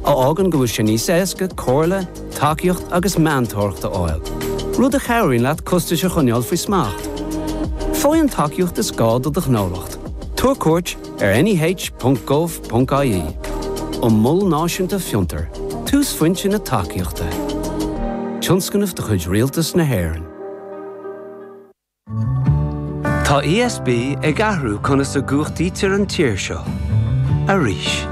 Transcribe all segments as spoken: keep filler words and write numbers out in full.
a fhágann go bhfuil sé níos éasca comhairle, tacaíocht agus meantóireacht a fháil. Rud a chabhraíonn leat costais a choinneáil faoi smacht. Faigh an tacaíocht is gá do do ghnólacht. Tabhair cuairt ar neh.gov.ie. An Mol Náisiúnta Fiontar, túsphointe na tacaíochta. Tionscnamh de chuid Rialtas na hÉireann. Tá ESB ag athrú conas a chumhachtaítear an tír seo. Arís.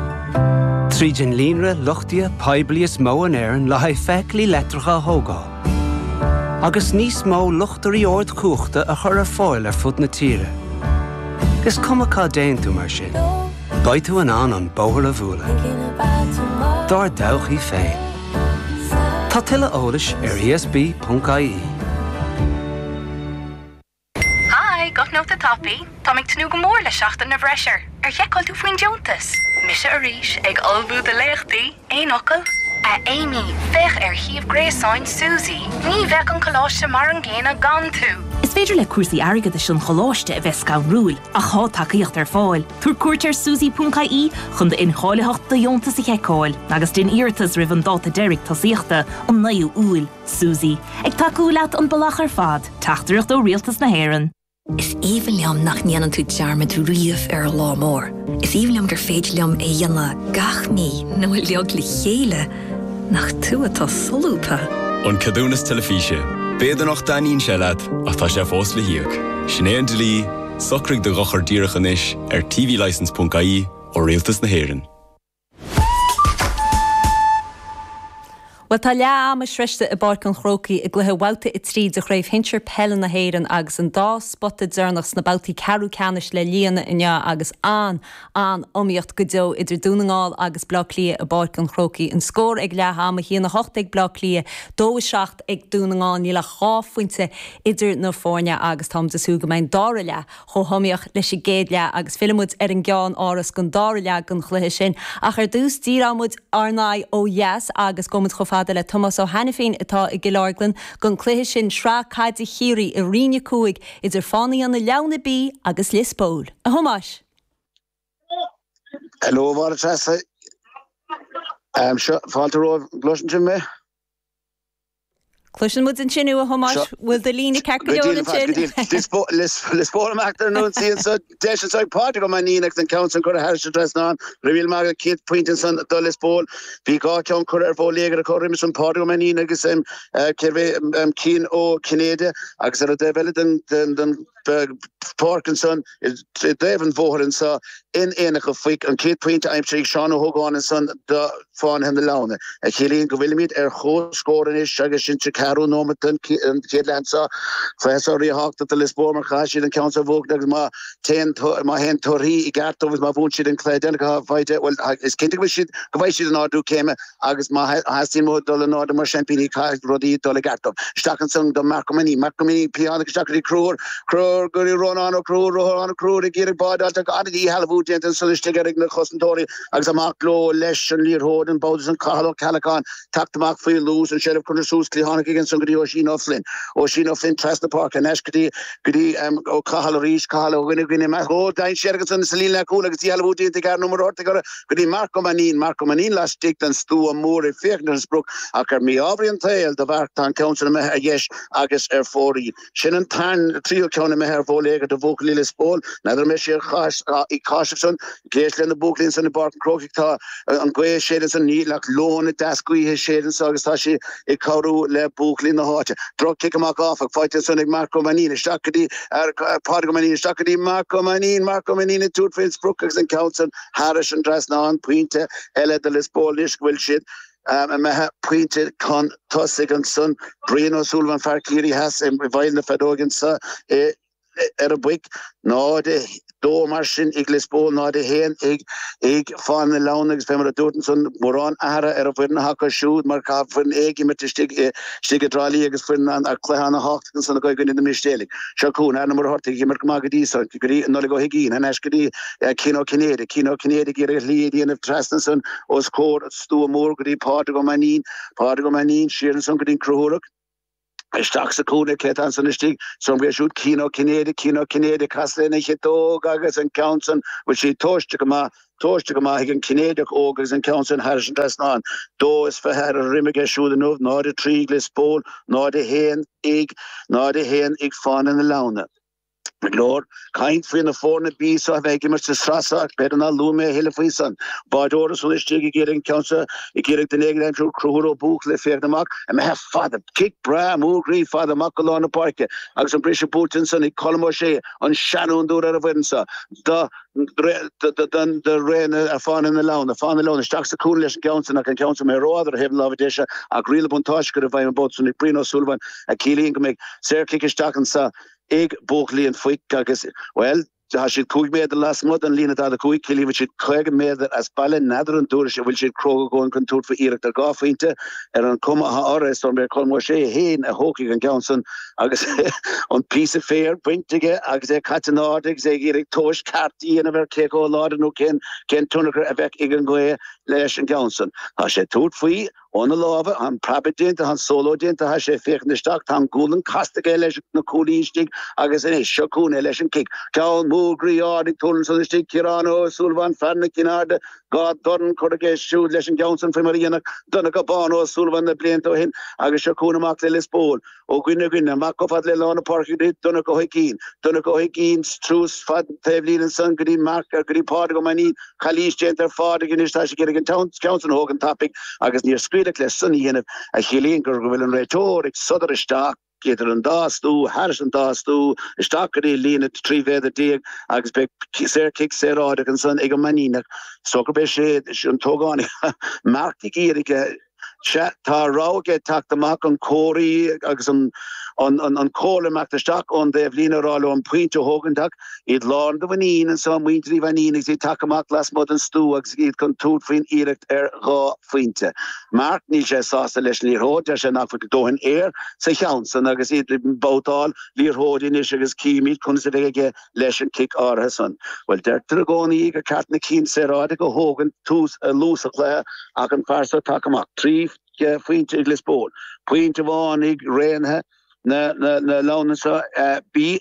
Tríd an líonra luchtaithe poiblí is mó in Éirinn le haghaidh feithiclí leictreacha a thógáil. Agus níos mó luchtairí ardchumhachta a chur ar fáil ar fud na tíre. Is cuma cá dtéann tú mar sin. Beidh tú in ann an bóthar a bhualadh. Dár dtodhchaí féin. Tá tuilleadh eolais ar ESB.ie. Hi, guth nóta tapaidh, Tá ag tnúth go mór le seachtain na bhfreisear, ar sheiceáil tú faoin deontas. Mise arís ag ullmhú do léachtaí, aon fhocal? A Amy, féach ar shuíomh gréasáin Suzy, ní bheadh an coláiste mar an gcéanna gan tú. Is féidir le cúrsaí airgeadais an choláiste a bheith scanrúil ach tá tacaíocht ar fáil. Tabhair cuairt ar suzy.ie chun d'incháilitheacht do dheontas a sheiceáil, agus déan iarratas roimh an dáta deiridh tosaíochta an naoú Iúil, Suzy, ag tacú leat an bealach ar fad, teachtaireacht ó Rialtas na hÉireann. Is aoibhinn liom nach ndéanann tú dearmad riamh ar lá mór. Is aoibhinn liom gur féidir liom é dhéanamh gach mí nó uilig le chéile nach tú atá solúbtha. An ceadúnas teilifíse. B'fhéidir nach dtaitníonn sé leat ach tá sé fós le híoc. Sin é an dlí, socraigh do dhochar díreach anois ar tvlicence.ie ó Rialtas na hÉireann. Well tá leath ama sroichte i bPáirc an Chrócaigh i gcluiche babhta a trí de chraobh shinsir peile na hÉireann agus an dá spota deireanach sna babhtaí ceathrú ceannais le líonadh inniu agus an an iomaíocht go deo idir Dún na nGall agus Bleá Cliath i bPáirc an Chrócaigh. An scór ag leath ama a haon a hocht ag Bleá Cliath, dó a seacht ag Dún na nGall níl ach dhá phointe idir na foirne agus táimid ag súil go mbeidh an dara leath chomh hiomaíoch leis an gcéad leath agus fillfidh muid ar an gceannáras don dara leath den chluiche sin. Ach ar dtús díreoidh muid ár n-aghaidh ó dheas agus gabhfaidh muid chomh fada le Tomás Ó hAiniféin atá i gCill Orglan don chluiche sin Sraith Caide Chiarraí i Roinn a Cúig idir Fánaithe na Leamhna B agus Lios Póil. A Thomáis. Hello Máire Treasa. Um, seo fáilte romhaibh gcloiseann sibh mé? Cloiseann muid ansin a Thomáis bhfuil do líne ceart go leor ansin. Lios Póil amach ar nó so deis ag Pádraig Ó Mainnín agus an ceann san curtha thar an trasnán Rimhíl mar chéad pointe san do Lios Póil bhí dhá cheann curtha ar bhóléagar a chorim san Pádraig Ó Mainnín agus um, uh, um, Cian Ó Cinnéide agus ar an dtaobh eile den den den páirc ansan i dtaobh an bhóthair anseo in Aonach an Phoic an chéad pointe aimsithe ag Seán Ó hÓgáin ansan do Fánaithe na Leamhna. A chiallaíonn go bhfuilimid ar chomhscór anois agus sin sa ceathrú nóiméad den chéad leath seo cluiche seo ríthábhachtach do Lios Póil mar chaithfidh siad an ceann seo a bhuachan agus má téann má théann torthaí i gceart dóibh má bhuann siad an cluiche deireanach faighte well is cinnte go bhfuil siad go bhfaighidh siad an ardú céime agus má theastaíonn uathu dul in airde mar seaimpíní caithfidh rudaí dul i gceart dóibh. Isteach ansan do Marc Ó Mainnín, Marc Ó Mainnín cliathánach isteach go dtí Conchúr, Conchúr go dtí Rónán Ó Conchúir, Rónán Ó Conchúir ag iarraidh bádáilte an-díshealbhú déanta ansan istigh ar na cosantóirí agus amach leo leis an liathróid an babhta san Cathal Ó Ceallacháin teacht amach faoi luas an seilbh curtha suas cliathánach ag ansan go dtí Oisín Ó Flynn. Oisín Ó Flynn trasna páirce anois go dtí go dtí um, ó Cathal arís Cathal ó dhuine dhuine ó dainséar agus an sa líne leathchúil agus díshealbhú déanta ag an number orthu go dtí Marc Ó Mainnín Marc Ó Mainnín laistigh den stua mór ag féachaint ar an sprioc ach ar mí-ádh an tsaoil do Mharc tá an ceann san imithe ar dheis agus ar fóraoil. Sin an tan tríú ceann imithe ar bhóléagar do bhuachaillí Lios Póil, N'fheadar mé sé i cáis san géis le na buachaillí san i bPáirc an Chrócaigh tá an ghaoth ag séideadh san níl ach lón deas gaoithe ag séideadh anso agus tá sí ag cabhrú le buachaillí na háite. Droch cic amach áfach faighte ansan ag Marc Ó Mainnín isteach go dtí Pádraig Ó Mainnín isteach go dtí Marc Ó Mainnín Marc Ó Mainnín ag tabhairt faoin sprioc agus an ceann san thairis an trasnán pointe eile do Lios Póil anois go bhfuil siad um, imithe pointe chun tosaigh ansan Brian Ó Súilleabháin fear Ciarraí Theas i bhfeighil na feadóige anso ar an bpoic náid a dó mar sin ag Lios Póil náid a haon ag ag Fánaithe na Leamhna agus fé mar a dúirt ansan mórán athruithe ar an bhfoireann acu siúd mar tá foireann ag imirt istigh istigh i dTrá Lí agus foireann an cluiche an-tábhachtach ansan i gcoinne na Mistéalaigh. Seo chugainn Aaron Ó Muircheartaigh ag imirt go maith go dtí san go dtí Nollaig Ó hUiginn anois go dtí Cian Ó Cinnéide Cian Ó Cinnéide ag iarraidh a shlí a dhéanamh trasna ansan os comhair stua mór go dtí Pádraig Ó Mainnín Pádraig Ó Mainnín siar ansan go dtí an Conchúrach. Isteach sa chúinne cé atá ansan istigh, so bhí siúd Cian Ó Cinnéide, Cian Ó Cinnéide casadh lena chiotóg agus an ceann san bhfuil sí tomhaiste go maith, tomhaiste go maith ag an Cinnéideach óg agus an ceann san thairis an trasnán. Dó is fiche ar an droim aige siúd inniu, náid a trí ag Lios Póil, náid a haon ag, náid a haon ag Fánaithe na Leamhna. Go leor caint faoi na foirne B seo a bheith ag imirt sa sraith seo ach b'fhéidir nár luaigh mé a thuilleadh faoi san. Báideoir ansan istigh ag iarraidh an ceann seo, ag iarraidh duine éigin a aimsiú, Conchúr Ó Buachalla ag féachaint amach, imithe fada, cic breá mór groí fada amach go lár na páirce agus an briseadh buailte ansan ag Colm Ó Sé, an seanfhondúir ar an bhfoireann seo. Do do ré na Fánaithe na Leamhna, Fánaithe na Leamhna isteach sa chúinne leis an gceann san ach an ceann san imithe rófhada ar thaobh na láimhe deise ach riail an bhuntáiste curtha i bhfeidhm an babhta san ag Brian Ó Súilleabháin a chiallaíonn go mbeidh saorchic isteach anso ag buachaillí an Phoic agus, bhuel, tá siad cúig méadar lasmuigh den líne daichead a cúig, ciallaíonn go bhfuil siad caoga méadar as baile, n'fheadar an dtabharfaidh an bhfuil siad cróga a dhóthain chun tabhairt faoi iarracht ar dhá phointe ar an chuma atá orthu. Is dóigh liom gurb é Colm Ó Sé féin a thógfaidh an ceann san agus an píosa féir bainte aige agus é caite in airde agus é ag iarraidh tomhas ceart a dhéanamh ar cé chomh láidir nó cén cén tionchar a bheadh ag an ghaoth leis an gceann san. Tá sé ag tabhairt faoi óna lámha, tá an preabadh déanta, tá an sóló déanta, tá sé ag féachaint isteach, tá an ghualainn casta aige leis na cúlaí istigh agus anois seo chugainn é leis an cic. Ceann mór groí ard ag tuirlingt ansan istigh, Ciarán Ó Súilleabháin, fear na Cinn Airde, dhá dhorn curtha aige siúd leis an gceann san faoi mar a dhéanadh Donncha Bán Ó Súilleabháin na blianta ó shin agus seo chugainn amach le Lios Póil. Ó dhuine go duine, amach chomh fada le lár na páirce go dtí Donncha Ó hUiginn, Donncha Ó hUiginn suas fad taobhlíne ansan go dtí Marc, go dtí Pádraig Ó Mainnín, calaois déanta ar Phádraig anois, tá sé ag iarraidh an ceann san a thógaint tapaidh agus níor scaoileadh leis san a dhéanamh, a chiallaíonn go bhfuil an réiteoir ag sodar isteach idir an dá stua, thairis an dá stua, isteach go dtí líne trí mhéadar déag agus beidh saorchic saoráideach ansan ag an Mainníneach. So gurb é sé an t-ógánach Marc ag iarraidh Sea, tá rogha aige teacht amach an comharthaí agus an an comhairle imeacht isteach ón dtaobhlíne a rá leo an pointe a thógaint ach iad lán de mhuinín anso, muintir Uí Mhainnín agus iad tagtha amach lasmuigh den stua agus iad chun tabhairt faoin iarracht ar dhá phointe. Mark, níl sé sásta leis an liathróid, deir sé nach bhfuil dóthain aer sa cheann san agus iad ag babhtáil liathróidí anois agus címid conas a bheidh aige leis an cic áirithe san. Bhuel, deirtear i gcónaí gur ceart na cinn saoráideach a thógaint tús luath sa chluiche ach an fear seo tagtha amach trí phointe ag Lios Póil, pointe amháin ag Raonaithe na Leamhna seo. Bhí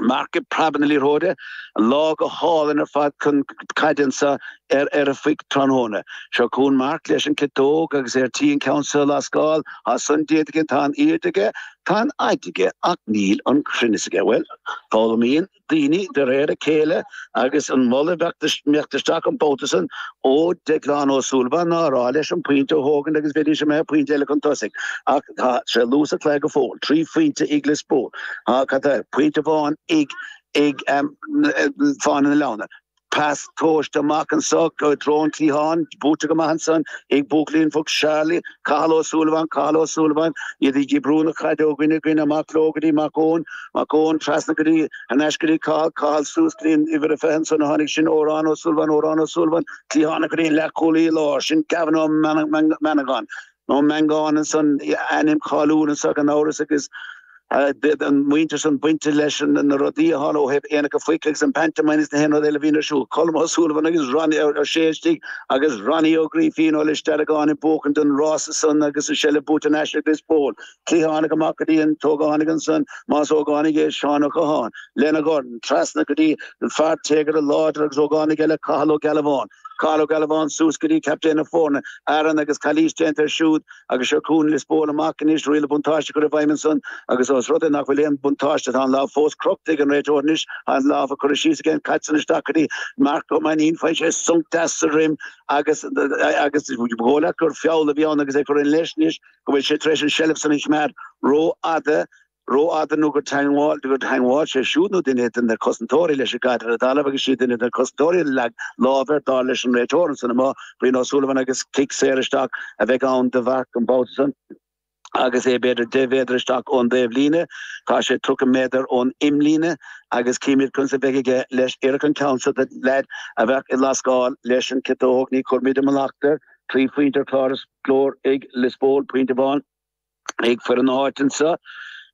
Mark ag preabadh na liathróide, lá go hálainn ar fad chun caide anso ar ar an Phoic tráthnóna. Seo chugainn Mark leis an ciotóg agus é ar tí an ceann seo a lascáil. Tá san déanta aige, tá an airde aige, tá an fhaid aige ach níl an cruinneas aige. Bhuel, foghlaimíonn daoine de réir a chéile agus an moladh a bheadh imeacht isteach an babhta san ó Declan Ó Súilleabháin ná a rá leis an pointe a thógaint agus bheidís imithe pointe eile chun tosaigh ach tá sé luath sa chluiche go fóill. Trí phointe ag Lios Póil. Cad é? Pointe amháin ag ag Fánaithe na Leamhna. Pas tomhaiste amach anso i dtreo an chliatháin, buaite go maith ansan ag buachaillí an Phoic, Charlie, Cathal Ó Súilleabháin, Cathal Ó Súilleabháin, iad ag brú na caide ó dhuine go duine, amach leo go dtí Mac Eoin, Mac Eoin trasna go dtí, thar n-ais go dtí Cathal, Cathal suas go dtí an uimhir a fiche ansan a tháinig sin, Odhrán Ó Súilleabháin, Odhrán Ó Súilleabháin, cliathánach go dtí an leathchúlaí i lár, sin Gavin Ó Mannagáin, Ó Mangáin ansan, ainm cáiliúil anso gan amhras agus. an muintir san bainte leis na rudaí a tharla ó thaobh Aonach a' Phoic agus an pantomime is na haon rud eile a bhíonn ar siúl. Colm Ó Súilleabháin agus Ronnie Ó Sé istigh agus Ronnie Ó Grífín ó Lios Deargáin ag buachaint an rása san agus an seilbh buaite thar n-ais ag Lios Póil. Cliathánach amach go dtí an t-ógánach ansan, más ógánach é Seán Ó Catháin, lena dhorn, trasna go dtí an fear téagartha láidir agus ógánach eile Cathal Ó Gealbháin. Cathal Ó Gealbháin suas go dtí captaen na foirne, Aaron agus calaois déanta air siúd agus seo chugainn Lios Póil amach anois, riail an bhuntáiste curtha i bhfeidhm ansan agus ós rud é nach bhfuil aon bhuntáiste tá an lámh fós crochta ag an réiteoir anois, tá an lámh curtha síos aige, an chaid san isteach go dtí Marc Ó Mainnín, faigheann sé sonc deas sa droim agus agus ba dhóigh leat gur feall a bhí ann agus é curtha leis anois go bhfuil sé tar éis an seilbh san a choimeád rófhada. rófhada nó gur teangmháil gur theangmháil sé siúd nó duine de na cosantóirí leis an gcaid ar an dtalamh agus siad duine de na cosantóirí a leag lámh air dar leis an réiteoir ansan amuigh, Brian Ó Súilleabháin agus cic saor isteach a bheidh ann do Mharc an babhta san agus é b'fhéidir deich mhéadar isteach ón dtaobhlíne. Tá sé tríocha méadar ón imlíne agus címid conas a bheidh aige leis iarraidh an ceann seo de leaid a bheadh ag lascáil leis an ciotóg. Ní chuirfimid i mallacht air. Trí phointe ar chlár is glór ag Lios Póil, pointe amháin. Ag foireann na háite anseo,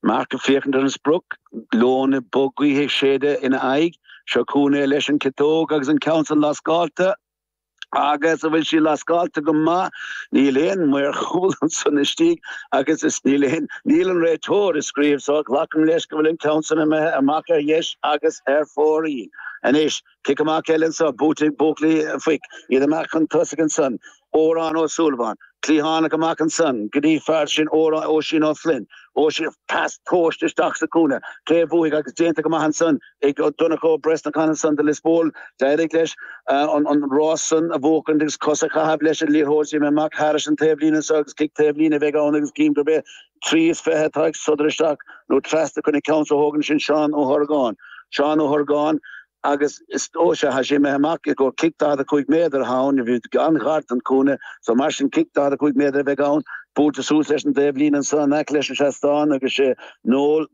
Marc ag féachaint ar an sprioc, gloine bog gaoithe ag séideadh ina aghaidh. Seo chugainn é leis an ciotóg agus an ceann san lascáilte Agus a bhfuil sí lascáilte go maith, níl aon maor chúil ansan istigh agus is níl aon, níl an réiteoir ag scríobh so glacaim leis go bhfuil an ceann san imithe amach ar dheis agus ar fóraoil. Anois, cic amach eile anso, buaite ag buachaillí an Phoic, iad amach chun tosaigh ansan, Odhrán Ó Súilleabháin, cliathánach amach ansan go dtí fear sin Oisín Ó Floinn, Oisín, pas tomhaiste isteach sa chúinne, cé a bhuafaidh agus déanta go maith ansan ag Donncha Ó Brosnacháin ansan do Lios Póil, d'éirigh leis an rás san a bhuachaint agus cos a chaitheamh leis an liathróid sí amach thairis an taobhlíne anso agus cic taobhlíne a bheidh ann agus cím gurb é trí is fiche atá ag sodar isteach nó trasna chun an ceann so a thógaint sin Seán Ó hOrgáin. Seán Ó hOrgáin. Agus is dócha, tá sé imithe amach i gcomhair cic daichead a cúig méadar atá ann, bhí an-ghar don chúinne, so mar sin cic daichead a cúig méadar a bheidh ann, buailte suas leis an dtaobhlíne ansan in aice leis an seastán agus sé Noel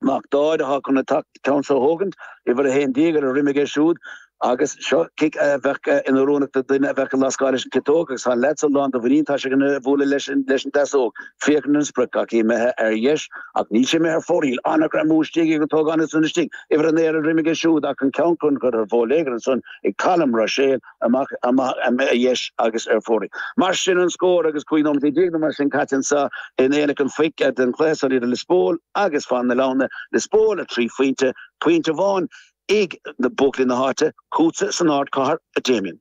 Mac Dáid atá chun an ceann so a thógaint, uimhir a haon déag ar a dhroim aige siúd. Agus seo cic a bheadh inoiriúnach do dhuine a bheadh ag lascáil leis an gciotóg agus tá an leaid so lán de mhuinín, tá sé chun bualadh leis an deasóg. Féachaint an sprioc ach imithe ar dheis ach níl sé imithe ar fóraoil. An-ghreamú istigh ag an t-ógánach san istigh. Uimhir a naoi ar a dhroim aige siúd ach an ceann curtha ar bhóléagar ansan ag Colm Ruiséal amach amach ar dheis agus ar fóraoil. Mar sin an scór agus cúig nóiméad déag nó mar sin caite anso in Aonach an Phoic den chluiche san idir Lios Póil agus Fán na Leamhna. Lios Póil a trí phointe, pointe amháin. ag na buachaillí na háite, chugatsa san ardchathair, a Damien.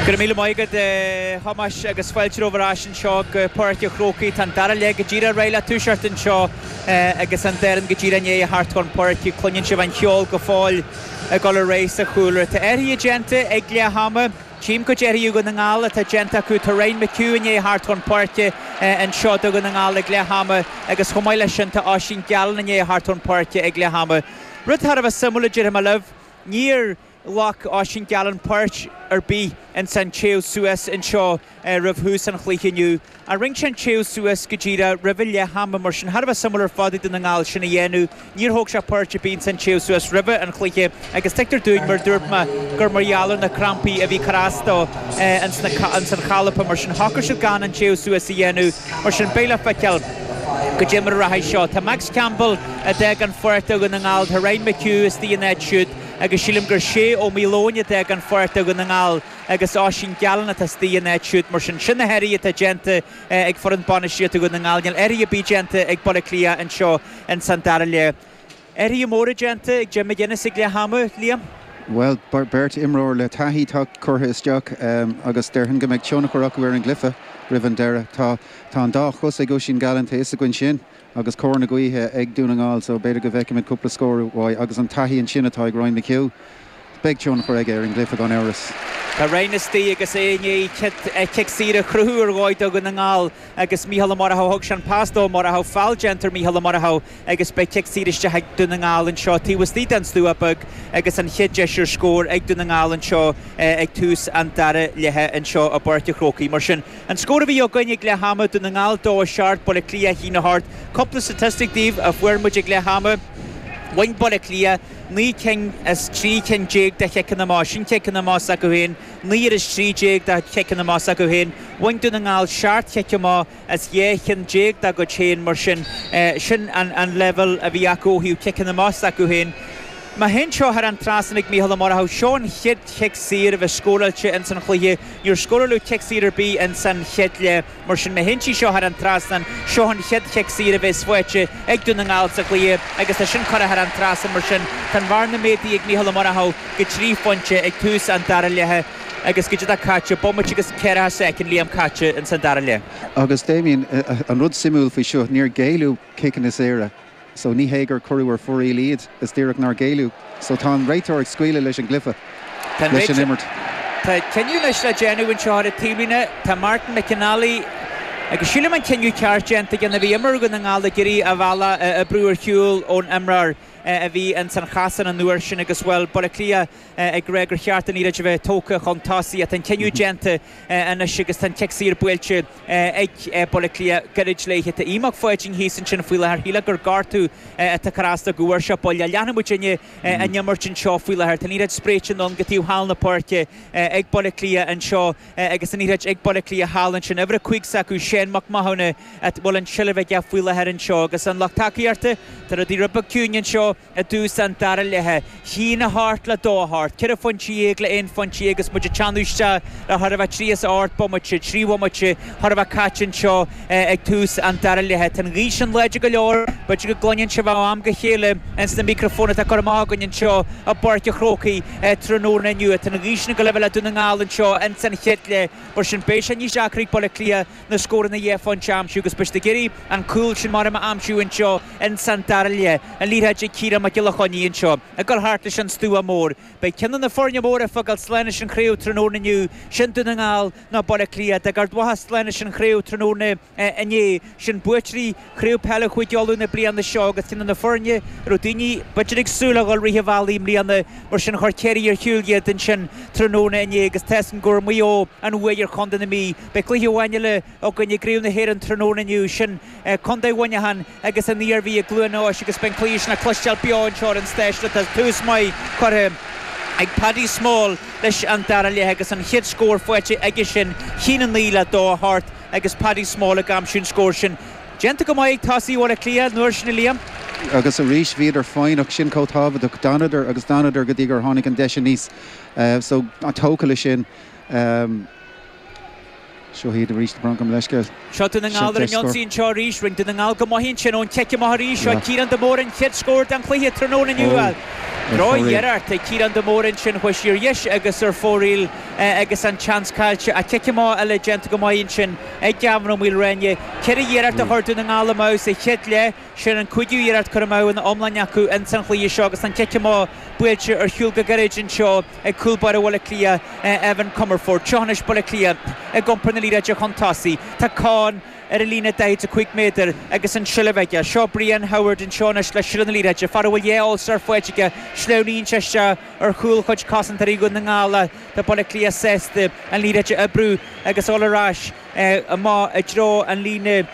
Go raibh míle maith agat, a Thomáis, agus fáilte romhaibh ar ais anseo go Páirc an Chrócaigh. Tá an dara leath go díreach réidh le toiseacht anseo agus an dá fhoireann go díreach i ndiaidh a theacht chun páirce. Cluineann sibh an cheol go fóill ag dul ar aghaidh sa chúlra. Tá athruithe déanta ag leath ama. Tchím cuid athruithe ó Dhún na nGall atá déanta acu. Tá Ryan McHugh i ndiaidh a theacht chun páirce anseo do Dhún na nGall ag leath ama agus chomh maith leis sin tá Oisín Gallen i ndiaidh a theacht chun páirce ag leath ama. Rud thar a bheith suimiúil a déarfaidh mé libh, níor ghlac Oisín Gallen páirt ar bith ins an téamh suas anseo roimh thús an chluiche inniu. Ach rinne sé an téamh suas go díreach roimhe leath ama, mar sin thar a bheith suimiúil ar fad ag Dún na nGall sin a dhéanamh. Níor thóg sé páirt ar bith ins an téamh suas roimhe an chluiche agus tuigtear dúinn, mar a dúirt mé, gur mar gheall ar na crampaí a bhí ag cur as dó ins an chalpa, mar sin shocraigh siad gan an téamh suas a dhéanamh. Mar sin beidh le feiceáil. Goidé mar a rachaidh seo. Tá Max Campbell a d'fhág an pháirc do Dhún na nGall, tá Ryan McHugh istigh ina áit siúd agus sílim gur Shea Ó Maoileoin a d'fhág an pháirc do Dhún na nGall agus Oisín Gallen atá istigh ina áit siúd. Mar sin, sin na hathruithe atá déanta ag foireann bainistíochta Dhún na nGall. Níl athruithe ar bith déanta ag Baile Átha Cliath anseo ins an dara leath. Athruithe móra déanta ag Jim McGuinness ag leath ama, Liam? Bhuel, beirt imreoir le taithí atá curtha isteach agus déarfainn go mbeidh tionchar acu ar an gcluiche roimh an deireadh. Tá tá an dá chos ag Oisín Gallen, tá fhios againn sin, agus cóir na gaoithe ag Dún na nGall so b'fhéidir go bhfeicfimid cúpla scór uaidh agus an taithí ansin atá ag Ryan McHugh, beidh tionchar aige ar an gcluiche gan amhras. Tá Ryan istigh agus é i ndiaidh cic saor a chruthú ar dhóigh do Dhún na nGall agus Mícheál Ó Murchú, thug sé an pas dó, Murchú, feall déanta ar Mhícheál Ó Murchú agus beidh cic saor isteach ag Dún na nGall anseo taobh istigh den stua beag agus an chéad deis ar scór ag Dún na nGall anseo ag tús an dara leatha anseo i bPáirc an Chrócaigh. Mar sin, an scór a bhí againn ag leath ama, Dún na nGall dó a seacht, Baile Átha Cliath a haon a hocht. Cúpla statistic daoibh a fuair muid ag leath ama. Bhain Baile Átha Cliath naoi cinn as trí cinn déag de chiceanna amach, sin ciceanna amach s'acu féin, naoi ar is trí déag de chiceanna amach s'acu féin. Bhain Dún na nGall seacht chic amach as dhá cheann déag dá gcuid féin, mar sin, sin an leibhéal a bhí acu ó thaobh ciceanna amach s'acu féin. Má théann seo thar an trasnán ag Mícheál Ó Murchú, seo an chéad chic saor a bheith scóráilte ins an chluiche. Níor scóráladh cic saor ar bith ins an chéad leath. Mar sin, má théann sí seo thar an trasnán, seo an chéad chic saor a bheas faighte ag Dún na nGall sa chluiche agus tá sin curtha thar an trasnán. Mar sin, tá an bhearna méadaithe ag Mícheál Ó Murchú go trí phointe ag tús an dara leatha agus goidé atá caite, bomaite agus ceathracha soicind, Liam, caite ins an dara leath. Agus Damien, an rud suimiúil faoi seo, níor géilleadh ciceanna saora. So ní hé gur cuireadh ar fóraoil iad, is díreach nár géilleadh. So tá an réiteoir ag scaoileadh leis an gcluiche, leis an imirt. Tá cinneadh anois le déanamh anseo ar an taobhlíne. Tá Martin McInally agus sílim an cinneadh ceart déanta aige. Bhí imreoir Dhún na nGall ag iarraidh a bhealach a bhrú ar shiúl ón imreoir a bhí ins an chasán an uair sin agus, bhuel, Baile Átha Cliath ag rá gur cheart an liathróid a bheith tógtha chun tosaigh. Tá an cinneadh déanta anois agus tá an cic saor buailte ag Baile Átha Cliath gairid léi. Tá Aodh Mac Pháidín thíos ansin faoi láthair. Shílfeá gur gortú atá ag cur as dó go bhfuair sé buille. Leanfaidh muidinne an imirt anseo faoi láthair. Tá an liathróid spréite anonn go taobh thall na páirce ag Baile Átha Cliath anseo agus an liathróid ag Baile Átha Cliath thall ansin. Uimhir a cúig s'acu, Shane Mac Mathúna, a bhfuil an tseilbh aige faoi láthair anseo agus an lucht tacaíochta, tá rudaí rud beag ciúin anseo. anseo i dtús an dara leithe. Haon a hocht le dó a hocht, ceithre phointe dhéag le aon phointe dhéag agus muid ag teannadh isteach le chóir a bheith trí is a hocht bomaite, trí bhomaite chóir a bheith caite anseo ag tús an dara leithe. Tá an ghaoth sin láidir go leor, b'fhéidir go gcluineann sibh ó am go chéile ins na micreafóin atá curtha amach againn anseo i bPáirc an Chrócaigh tráthnóna inniu. Tá an ghaoth sin ag dul a bheith le Dún na nGall anseo ins an chéad leath, mar sin beidh sé níos deacra ag Baile Átha Cliath na scóranna dhá phointe a aimsiú agus beidh siad ag iarraidh an cúl sin mar a aimsiú anseo ins an dara leath. An liathróid ag Ciarán Mac Giolla Chainnigh anseo ag dul thart leis an stua mór. Beidh ceann de na foirne móra ag fágáil slán leis an chraobh tráthnóna inniu, sin Dún na nGall nó Baile Átha Cliath. D'fhág Ard Mhacha slán leis an chraobh tráthnóna inné, sin buaiteoirí Chraobh Peile Chúige Uladh na bliana seo agus ceann de na foirne a raibh daoine b'fhéidir ag súil a dhul rith an bhealaigh i mbliana, mar sin chuir Ciarraí ar shiúl iad ansin tráthnóna inné agus tá 'fhios againn go bhfuair Maigh Eo an bhuaidh ar chontae na Mí. Beidh cluiche amháin eile againn i gCraobh na hÉireann tráthnóna inniu, sin Contae Mhuineacháin agus an Iarmhí i gCluain Eois agus beidh an cluiche sin le cloisteáil beo anseo ar an stáisiún. Tá tús maith curtha ag Paddy Small leis an dara leath agus an chéad scór faighte aige sin, a haon a naoi le dó a hocht agus Paddy Small ag aimsiú an scór sin. Déanta go maith ag tosaí Bhaile Átha Cliath an uair sin, a Liam. Agus arís bhíodar foighneach, sin chomh tábhachtach. D'fhanadar agus d'fhanadar go dtí gur tháinig an deis aníos. So, tógtha leis sin. Seo iad arís, gabh mo leithscéal. Seo Dún na nGall ar an ionsaí anseo arís. Rinne Dún na nGall go maith ansin ón chic amach arís. Seo Ciarán de Mórdha an chéad scór den chluiche tráthnóna inniu. Droch-iarracht ag Ciarán de Mórdha ansin. Chuaigh sí ar dheis agus ar fóraoil agus an seans caillte. Ach cic amach eile déanta go maith ansin ag Gavin Ó Maoilréine. Ceithre iarracht a chuir Dún na nGall amach sa chéad leath. Sin an cúigiú iarracht curtha amach ina iomláine acu ins an chluiche seo agus an cic amach buailte ar shiúl go gairid anseo ag cúl báire Bhaile Átha Cliath, Evan Comerford. Seo anois Baile Átha Cliath ag iompar na liathróide chun tosaigh. Tá Con ar an líne daichead a cúig méadar agus an tseilbh aige. Seo Brian Howard anseo anois le seilbh na liathróide. Fear a bhfuil dhá All-Star faighte aige. Sleamhnaíonn sé isteach ar chúl chuid cosantóirí Dhún na nGall ach tá Baile Átha Cliath sásta an liathróid a oibriú agus dul ar ais amach i dtreo an líne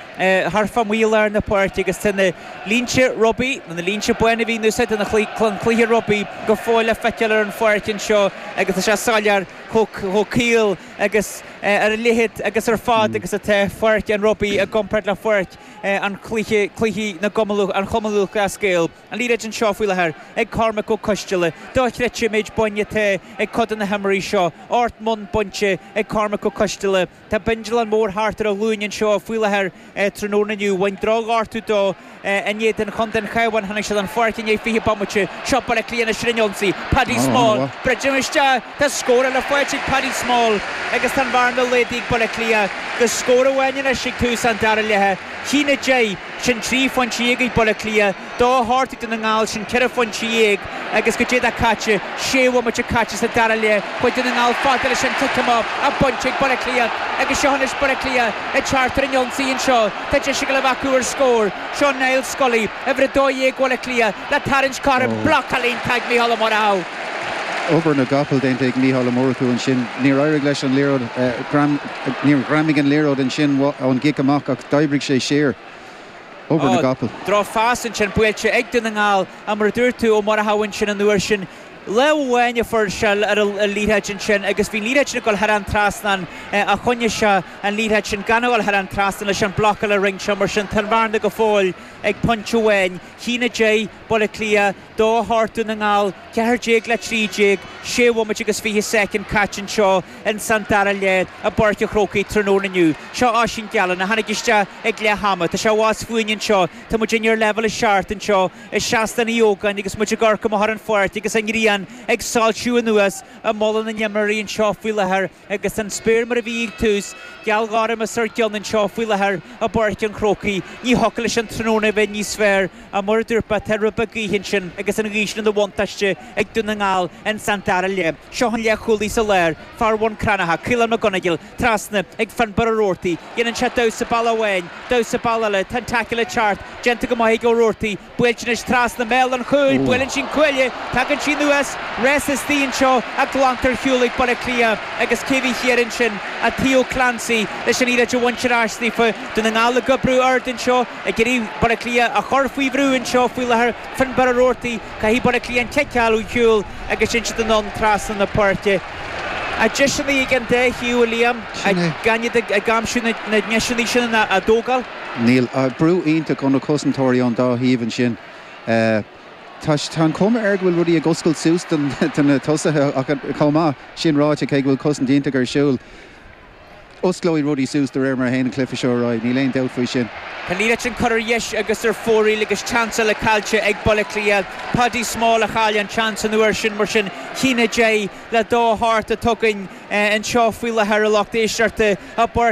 thart fá amuigh i lár na páirce agus tá na línte rugbaí, nó na línte bána a bhí in úsáid don chluiche rugbaí go fóill le feiceáil ar an pháirc anseo agus tá sé soiléir chomh caol agus ar a leithead agus ar fad agus atá pháirc an rugbaí i gcomparáid le pháirc an chluiche, cluichí na gCumann, an Chumann Lúthchleas Gael. An liathróid anseo faoi láthair ag Cormac Ó Coisteala. Dochreidte an méid boinn atá ag cuid de na himreoirí seo. Ocht mbonn bainte ag Cormac Ó Coisteala. Tá bindealán mór thart ar a ghlúin anseo faoi láthair tráthnóna inniu. Bhain drochghortú dó in éadan chontae an Chabháin. Tháinig sé den pháirc i ndiaidh fiche bomaite. Seo Baile Átha Cliath anois ar an ionsaí. Paddy Small. Briseadh isteach. Tá scór eile faighte ag Paddy Small agus tá an bhearna laghdaithe ag Baile Átha Cliath go scór amháin anois ag tús an dara leatha. A haon a deich, sin trí phointe dhéag ag Baile Átha Cliath, dó a hocht ag Dún na nGall, sin ceithre phointe dhéag agus goidé atá caite, sé bhomaite caite sa dara leath. Chuaigh Dún na nGall fada leis an cic amach ach bainte ag Baile Átha Cliath agus seo anois Baile Átha Cliath ag teacht ar an ionsaí anseo. Tá deis ag dul a bheith acu ar scór. Seo Niall Scully, uimhir a dó dhéag Bhaile Átha Cliath, le tarraingt cothrom, blocáil iontach ag Mícheál Ó Murchú. Obair na gcapall déanta ag Mícheál Ó Murchú ansin. Níor éirigh leis an liathróid, níor ghreamaigh an liathróid ansin ón gcic amach ach d'oibrigh sé siar. Obair na gcapall. Drochphas ansin buailte ag Dún na nGall ach mar a dúirt tú, Ó Murchú ansin an uair sin, lámh amháin a fuair sé ar an liathróid ansin agus bhí an liathróid sin ag dul thar an trasnán ach choinnigh sé an liathróid sin gan a dhul thar an trasnán leis an blocáil a rinne sé mar sin tá an bhearna go fóill ag pointe amháin. A haon a deich, Baile Átha Cliath, dó a hocht Dún na nGall, ceathair déag le trí déag, sé bhomaite agus fiche soicind caite anseo ins an dara leath i bPáirc an Chrócaigh tráthnóna inniu. Seo Oisín Gallen a tháinig isteach ag leath ama. Tá sé abhus fúinn anseo. Tá muid ar leibhéal a seacht anseo i Seastán Uí Ógáin agus muid ag amharc amach ar an pháirc agus an ghrian ag soilsiú anuas i mullach na n-imreoirí anseo faoi láthair agus an spéir mar a bhí ag tús, gealghorm os ár gcionn anseo faoi láthair i bPáirc an Chrócaigh. Ní thiocfadh leis an tráthnóna a bheith níos fearr ach mar a dúirt mé, tá rud beag gaoithe ansin agus an ghaoth sin ina bhuntáiste ag Dún na nGall ins an dara leath. Seo an leathchúlaí sa lár, fear Bhun Cranncha, Caolán Mac Gonigle, trasna ag Finbarr Ó Roarty. Dhéanann sé damhsa bealaigh amháin, damhsa bealaigh eile, tá an tackle ag teacht, déanta go maith ag Ó Roarty, buailte anois trasna mbéal an chúil, buaileann sí an cuaille, tagann sí anuas, rás istigh anseo ach glanta ar shiúl ag Baile Átha Cliath agus cé bhí thiar ansin ach Theo Clancy leis an liathróid a bhaint ar ais daofa. Dún na nGall ag oibriú ard anseo, ag iarraidh Baile Átha Cliath a chur faoi bhrú anseo faoi láthair. Finbarr Ó Roarty, caithfidh Baile Átha Cliath an cic a fháil ó shiúl agus sin siad anonn trasna na páirce. Ach deiseanna ag an dá thaobh, a Liam, gan iad ag aimsiú na ndeiseanna sin á dtógáil. Níl. Brú iontach ó na cosantóirí ón dá thaobh ansin. Tá an chuma air go bhfuil rudaí ag oscailt suas do na tosaithe ach chomh maith sin ráite cé go bhfuil cosaint iontach ar siúl. Osclóidh rudaí suas de réir mar a théann an cluiche seo ar aghaidh, níl aon dabht faoi sin. Tá an liathróid sin curtha ar dheis agus ar fóraoil agus seans eile caillte ag Baile Átha Cliath. Paddy Small a chaill an seans an uair sin mar sin a haon a deich le dó a hocht atá againn anseo faoi láthair a lucht éisteachta i bPáirc